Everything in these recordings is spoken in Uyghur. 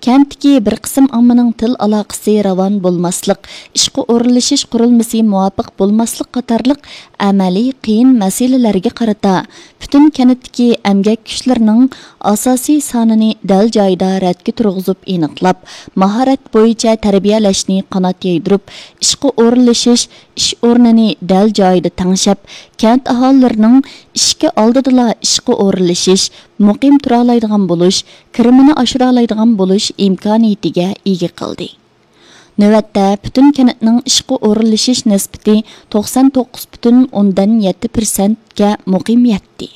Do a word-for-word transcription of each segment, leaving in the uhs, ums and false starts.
كەنتتىكى بىر قىسىم ئاممىنىڭ تىل ئالاقىسى راۋان بولماسلىق، ئىشقا ئورۇنلىشىش قۇرۇلمىسى مۇۋاپىق بولماسلىق قاتارلىق ئەمەلىي قىيىن مەسىلىلەرگە قارىتا، پۈتۈن كەنتتىكى ئەمگەك كۈچلىرىنىڭ ئاساسىي سانىنى دەل جايىدا رەتكە تۇرغۇزۇپ ئېنىقلاپ، ماھارەت بويىچە تەربىيەلەشنى قانات يايدۇرۇپ، ئىشقا ئورۇنلىشىش، ئىش ئورنىنى دەل جايىدا تەڭشەپ، كەنت ئاھالىلىرىنىڭ ئىشىكى ئالدىدىلا ئىشقا ئورۇنلىشىش، مۇقىم تۇرالايدىغان بولۇش، كىرىمىنى ئاشۇرالايدىغان بولۇش ئىمكانىيىتىگە ئىگە قىلدى. نۆۋەتتە پۈتۈن كەنتنىڭ ئىشقا ئورۇنلىشىش نىسبىتى توقسان توققۇز پۈتۈن ئوندىن يەتتە پىرسەنتكە مۇقىم يەتتى.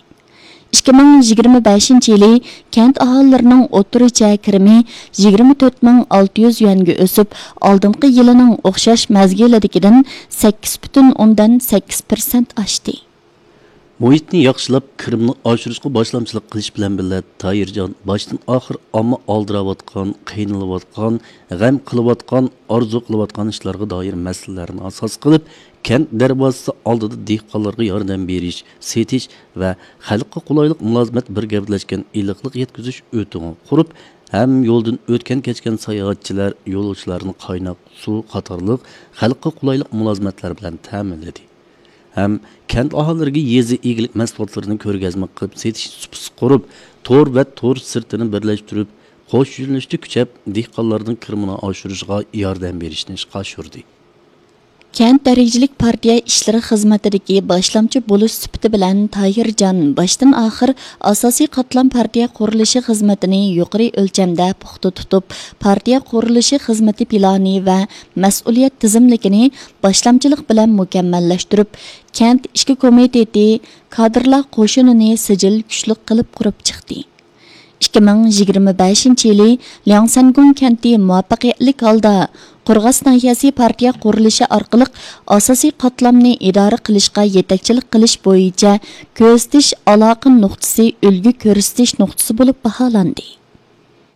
ئىككى مىڭ يىگىرمە بەشىنچى يىلى كەنت ئاھالىلىرىنىڭ ئوتتۇرىچە كىرىمى يىگىرمە تۆت مىڭ ئالتە يۈز يۈەنگە ئۆسۈپ، ئالدىنقى يىلىنىڭ ئوخشاش مەزگىلىدىكىدىن سەككىز پۈتۈن ئوندىن سەككىز پىرسەنت ئاشتى. مۇھىتنى ياخشىلاپ، كىرىمنى ئاشۇرۇشقا باشلامچىلىق قىلىش بىلەن بىللە، تاھىرجان باشتىن ئاخىر ئامما ئالدىراۋاتقان، قىينىلىۋاتقان، غەم قىلىۋاتقان، ئارزۇ قىلىۋاتقان ئىشلارغا دائىر مەسىلىلەرنى ئاساس قىلىپ، كەنت دەرۋازىسى ئالدىدا دېھقانلارغا ياردەم بېرىش، سېتىش ۋە خەلققە قولايلىق مۇلازىمەت بىر گەۋدىلەشكەن ئېلىقلىق يەتكۈزۈش ئۆتىقىنى قۇرۇپ، ھەم يولدىن ئۆتكەن كەچكەن ساياھەتچىلەر، يولۇچىلارنى قايناق سۇ قاتارلىق خەلققە قولايلىق مۇلازىمەتلەر بىلەن تەمىنلىدى. ھەم كەنت ئاھالىلىرىگە يېزا ئىگىلىك مەھسۇلاتلىرىنى كۆرگەزمە قىلىپ سېتىش سۇپىسى قۇرۇپ، تور ۋە تور سىرتىنى بىرلەشتۈرۈپ، قوش يۆنىلىشتە كۈچەپ، دېھقانلارنىڭ كىرىمىنى ئاشۇرۇشىغا ياردەم بېرىشنى ئىشقا ئاشۇردى. كەنت دەرىجىلىك پارتىيە ئىشلىرى خىزمىتىدىكى باشلامچى بولۇش سۈپىتى بىلەن تاھىرجان باشتىن ئاخىر ئاساسىي قاتلام پارتىيە قۇرۇلۇشى خىزمىتىنى يۇقىرى ئۆلچەمدە پۇختا تۇتۇپ، پارتىيە قۇرۇلۇشى خىزمىتى پىلانى ۋە مەسئۇلىيەت تىزىملىكىنى باشلامچىلىق بىلەن مۇكەممەللەشتۈرۈپ، كەنت ئىچكى كومىتېتى، كادىرلار قوشۇنىنى سىجىل كۈچلۈك قىلىپ قۇرۇپ چىقتى. ئىككى مىڭ يىگىرمە بەشىنچى يىلى لياڭسەنگۇڭ كەنتى مۇۋەپپەقىيەتلىك ھالدا قورغاس ناھىيەسى پارتىيە قۇرۇلۇشى ئارقىلىق ئاساسىي قاتلامنى ئىدارە قىلىشقا يېتەكچىلىك قىلىش بويىچە كۆزىتىش ئالاقە نۇقتىسى، ئۈلگە كۆرسىتىش نۇقتىسى بولۇپ باھالاندى.